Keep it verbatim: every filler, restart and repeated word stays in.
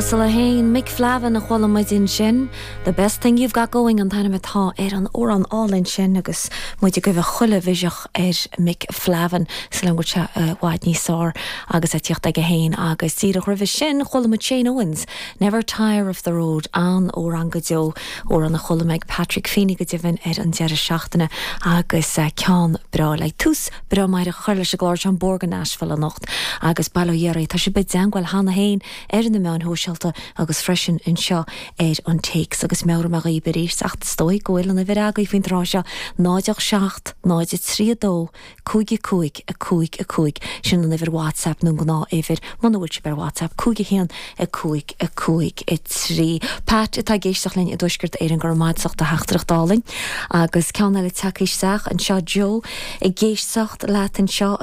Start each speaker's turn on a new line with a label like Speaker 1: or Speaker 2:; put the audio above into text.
Speaker 1: uasal é féin Mick Flavin a chuala muid ansin. The best thing you've got going an t-ainm atá ar an amhrán álainn sin agus muid ag gabháil chuile mhiseach ar Mick Flavin sa le se bhád níos sár agus a tíocht aige féin agus díreach roimhe sin chuala muid Shane Owens, Never Tire of the Road an amhrán go deo amhrán a chuala mé ag Patrick Feeney go deimhin ar an deireadh seachtaine agus uh, ceann breá le tús breá mar a chur leis an gclár an Borgan Nashville anocht agus bail ó Dhia oraibh tá sé be deanhfuil hena hain ar na meáin shóisialta agus freisin anseo ar an téacs agus meabhraím dhaoibh arís ach stoi go bhfuil an uimhir agaibh faoin tráth seo náid seacht náid trí dó cúig cúig a cúig a cúig sin an uimhir WhatsApp nó gnáthuimhir muna bhfuil sibh ar WhatsApp cúig a haon a cúig a cúig a trí. Pat atá ag éisteacht linn i dTuaisceart Éireann gur maidsacht a theachtaireacht álainn agus ceann eile tagtha isteach anseo Joe ag éisteacht leat anseo